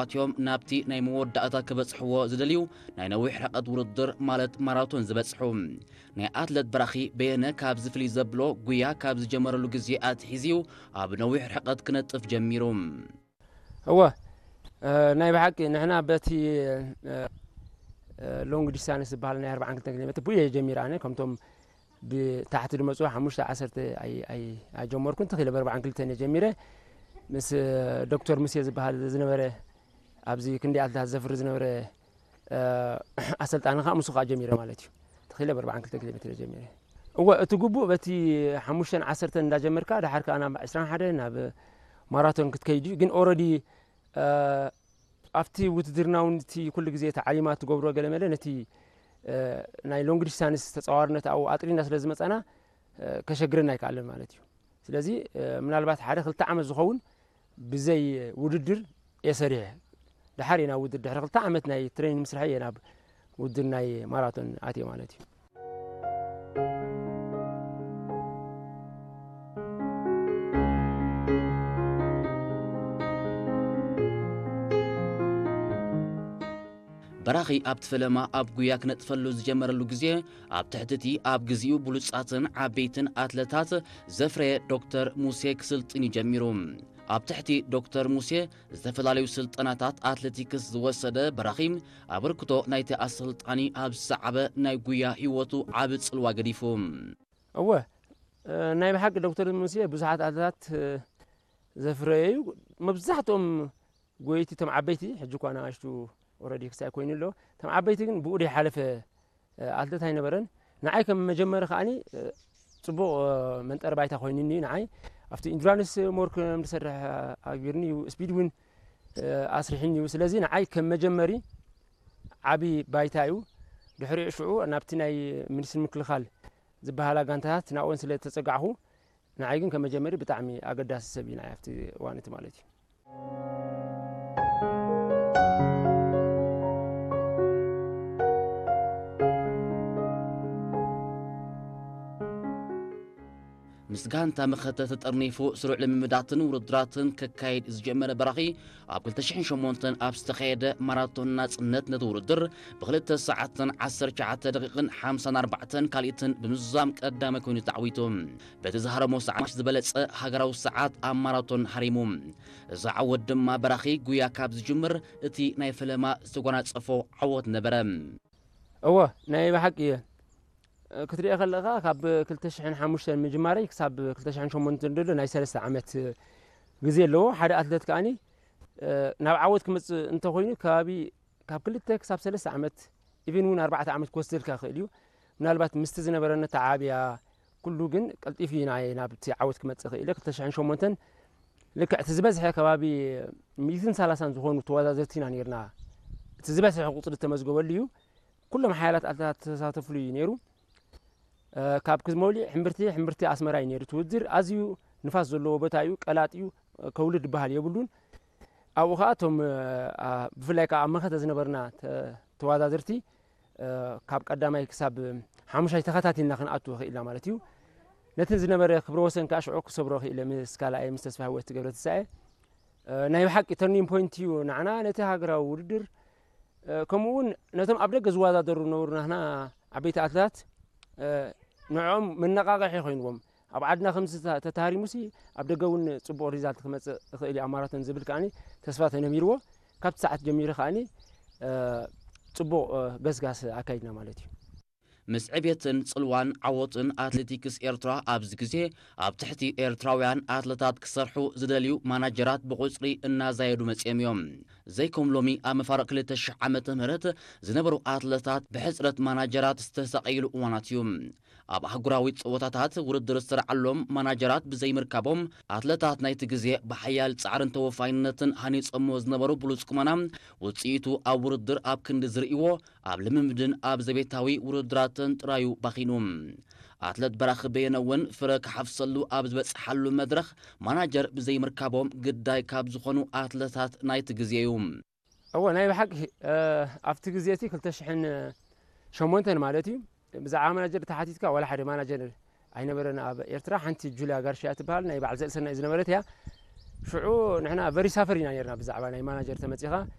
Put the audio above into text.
ኣትዮም ናብቲ ናይ መወዳእታ ክበጽሕዎ ዝደልዩ ናይ ነዊሕ ርሕቀት ውድድር ማለት ማራቶን ዝበጽሑ። ናይ ኣትለት በራኺ በየነ ካብዚ ፍልይ ዘብሎ፣ ጉያ ካብ ዝጀመረሉ ግዜ ኣትሒዝዩ ኣብ ነዊሕ ርሕቀት ክነጥፍ ጀሚሩ። እወ፣ እ፣ ናይ ብሓቂ ንሕና በቲ፣ እ፣ እ፣ ሎንግ ዲስታንስ ዝበሃል ናይ ኣርብዓን ክልተን ኪሎ ሜትር ብየ ጀሚረ። ኣነ ከምቶም ብታሕቲ ዝመጹ ሓሙሽተ ዓሰርተ ኣይ-፣ ኣይ-፣ ኣይጀመርኩን፣ ተኺለ ብ ኣርብዓን ክልተን እየ ጀሚረ። ምስ፣ እ፣ ዶክተር ሙሴ ዝበሃል ዝነበረ ኣብዚ ክንዲ ኣትለታት ዘፍሪ ዝነበረ፣ እ፣ ኣሰልጣኒ ከዓ ምስኡ ከዓ ጀሚረ ማለት እዩ። ተኺለ ብ ኣርብዓን ክልተን ኪሎ ሜትር እየ ጀሚረ። እወ፣ እቲ ግቡእ በቲ ሓሙሽተን ዓሰርተን እንዳጀመርካ፣ ድሓር ከዓ ናብ ዕስራን ሓደን ናብ ማራቶን ክትከይድ እዩ። ግን ኦረዲ፣ እ፣ ኣብቲ ውትድርና እውን እቲ ኩሉ ግዜ ተዓሊማ ትገብሮ ገለ መለ ነቲ፣ እ፣ ናይ ሎንግ ዲስታንስ ተጻዋርነት ኣብኡ ኣጥሪና ስለ ዝመጻና፣ እ፣ ከሸግረና ኣይከኣለን ማለት እዩ። ስለዚ፣ እ፣ ምናልባት ሓደ ክልተ ዓመት ዝኸውን ብዘይ ውድድር እየ ሰሪሐ። ድሓር እየ ናብ ውድድር፣ ድሕሪ ክልተ ዓመት ናይ ትሬኒንግ ምስራሕ እየ ናብ ውድድር ናይ ማራቶን ኣትየ ማለት እዩ። በራኺ ኣብቲ ፈለማ ኣብ ጉያ ክነጥፈሉ ዝጀመረሉ ግዜ፣ ኣብ ትሕቲ እቲ ኣብ ግዜኡ ብሉጻትን ዓበይትን ኣትለታት ዘፍረየ ዶክተር ሙሴ ክስልጥን እዩ ጀሚሩ። ኣብ ትሕቲ ዶክተር ሙሴ ዝተፈላለዩ ስልጠናታት ኣትሌቲክስ ዝወሰደ በራኺ፣ ኣበርክቶ ናይቲ ኣሰልጣኒ ኣብ ዝሰዓበ ናይ ጉያ ህይወቱ ዓቢ ጽልዋ ገዲፉ። እወ፣ እ፣ ናይ ብሓቂ ዶክተር ሙሴ ብዙሓት ኣትለታት፣ እ፣ ዘፍረየ እዩ። መብዛሕትኦም ጎየይቲ፣ እቶም ዓበይቲ፣ ሕጂ እኳ ንኣሽቱ ኦረዲ ክሳይ ኮይኑ ኣሎ። እቶም ዓበይቲ ግን ብኡ ዘይሓለፈ፣ እ፣ ኣትለት ኣይነበረን። ንዓይ ከም መጀመሪ ከኣኒ፣ እ፣ ጽቡቕ፣ እ፣ መንጠሪ ባይታ ኮይኑኒ እዩ ንዓይ። ኣብቲ ኢንዱራንስ ሞር ከም ዝሰርሕ ኣግቢርኒ እዩ። ስፒድ እውን፣ እ፣ ኣስሪሕኒ እዩ። ስለዚ ንዓይ ከም መጀመሪ ዓቢ ባይታ እዩ። ድሕሪኡ ሽዑ ናብቲ ናይ ሚኒስትሪ ምክልኻል ዝበሃላ ጋንታታት ናብኦን ስለ ዝተጸጋዕኹ፣ ንዓይ ግን ከም መጀመሪ ብጣዕሚ ኣገዳሲ ሰብ እዩ ንዓይ ኣብቲ እዋን እቲ ማለት እዩ። ምስ ጋንታ መኸተ ተጠርኒፉ ስሩዕ ልምምዳትን ውድድራትን ከካይድ ዝጀመረ በራኺ፣ ኣብ ክልተ ሽሕን ሸሞንተን ኣብ ዝተኻየደ ማራቶን ናጽነት ነቲ ውድድር ብክልተ ሰዓትን ዓሰርተ ትሽዓተ ደቂቕን ሓምሳን ኣርባዕተን ካልኢትን ብምዝዛም ቀዳማይ ኮይኑ ተዓዊቱ። በቲ ዝሃረሞ ሰዓት ዝበለጸ ሃገራዊ ሰዓት ኣብ ማራቶን ሃሪሙ። እዚ ዓወት ድማ በራኺ ጉያ ካብ ዝጅምር እቲ ናይ ፈለማ ዝተጎናጸፎ ዓወት ነበረ። እወ፣ ናይ ብሓቂ እየ። ክትሪኦ ከለኻ ካብ ክልተ ሽሕን ሓሙሽተን ምጅማረይ ክሳብ ክልተ ሽሕን ሸሞንተን ዘሎ ናይ ሰለስተ ዓመት ግዜ ኣለዎ። ሓደ ኣትለት ከኣኒ፣ እ፣ ናብ ዓወት ክመጽእ እንተኾይኑ ከባቢ ካብ ክልተ ክሳብ ሰለስተ ዓመት፣ ኢቭን እውን ኣርባዕተ ዓመት ክወስደልካ ይኽእል እዩ። ምናልባት ምስቲ ዝነበረኒ ተዓብያ ኩሉ ግን ቀልጢፉ እዩ ናይ ናብቲ ዓወት ክመጽእ ክኢለ። ክልተ ሽሕን ሸሞንተን ልክዕ እቲ ዝበዝሐ ከባቢ ሚእትን ሰላሳን ዝኾኑ ተወዳደርቲ ኢና ነይርና። እቲ ዝበዝሐ ቁጽሪ ዝተመዝገበሉ እዩ። ኩሎም ሓያላት ኣትለታት ተሳተፍሉ እዩ ነይሩ። እ፣ ካብ ክዝመውሊዕ ሕምብርቲ፣ ሕምብርቲ ኣስመራ እዩ ነይሩ እቲ ውድድር። ኣዝዩ ንፋስ ዘለዎ ቦታ እዩ፣ ቀላጥ እዩ፣ እ፣ ከውልድ ዝበሃል የብሉን። ኣብኡ ኸኣ እቶም፣ እ፣ ኣ፣ ብፍላይ ከኣ ኣብ መኸተ ዝነበርና ተ-፣ ተወዳደርቲ፣ እ፣ ካብ ቀዳማይ ክሳብ ሓሙሻይ ተኸታቲልና ክንኣቱ ኽኢልና ማለት እዩ። ነቲ ዝነበረ ክብረ ወሰን ከኣ ሽዑ ክሰብሮ ኽኢለ ምስ ካልኣየ ምስ ተስፋ ህይወት ገብረ ትንሳኤ። እ፣ ናይ ብሓቂ ተርኒንግ ፖይንት እዩ ንዓና ነቲ ሃገራዊ ውድድር። እ፣ ከምኡ እውን ነቶም ኣብ ደገ ዝወዳደሩ ዝነበሩ ናህና ዓበይቲ ኣትለታት፣ እ፣ ንዕኦም መነቓቕሒ ኮይንዎም። ኣብ ዓድና ከምዚ ተ-፣ ተታሃሪሙሲ ኣብ ደገ እውን ጽቡቕ ሪዛልት ክመጽእ ይኽእል እዩ ኣብ ማራቶን ዝብል ከኣኒ ተስፋ ተነቢርዎ። ካብቲ ሰዓት ጀሚሩ ከኣኒ፣ እ፣ ጽቡቕ፣ እ፣ ገስጋስ ኣካይድና ማለት እዩ። ምስ ዕብየትን ጽልዋን ዓወትን ኣትሌቲክስ ኤርትራ ኣብዚ ግዜ ኣብ ትሕቲ ኤርትራውያን ኣትለታት ክሰርሑ ዝደልዩ ማናጀራት ብቑጽሪ እናዛየዱ መጺኦም እዮም። ዘይከም ሎሚ ኣብ መፋርቕ ክልተ ሽሕ ዓመተ ምህረት ዝነበሩ ኣትለታት ብሕጽረት ማናጀራት ዝተሳቐይሉ እዋናት እዩ። ኣብ ኣህጉራዊ ጸወታታት ውድድር ዝተራዓሎም ማናጀራት ብዘይምርካቦም፣ ኣትለታት ናይቲ ግዜ ብሓያል ጻዕርን ተወፋይነትን ሃኒጾምዎ ዝነበሩ ብሉጽ ቁመና፣ ውጽኢቱ ኣብ ውድድር ኣብ ክንዲ ዝርእይዎ፣ ኣብ ልምምድን ኣብ ዘቤታዊ ውድድራትን ጥራዩ ባኺኑ። ኣትለት በራኺ በየነ እውን ፍረ ክሓፍሰሉ ኣብ ዝበጽሓሉ መድረኽ፣ ማናጀር ብዘይምርካቦም ግዳይ ካብ ዝኾኑ ኣትለታት ናይቲ ግዜ እዩ። እወ፣ ናይ ብሓቂ፣ እ፣ ኣብቲ ግዜ እቲ ክልተ ሽሕን ሸሞንተን ማለት እዩ። ብዛዕባ ማናጀር ተሓቲትካ፣ ዋላ ሓደ ማናጀር ኣይነበረን ኣብ ኤርትራ። ሓንቲ ጁልያ ጋርሽያ ትበሃል፣ ናይ በዓል ዘርእሰናይ ዝነበረት እያ። ሽዑ ንሕና very suffer ኢና ነርና ብዛዕባ ናይ ማናጀር ተመጺኻ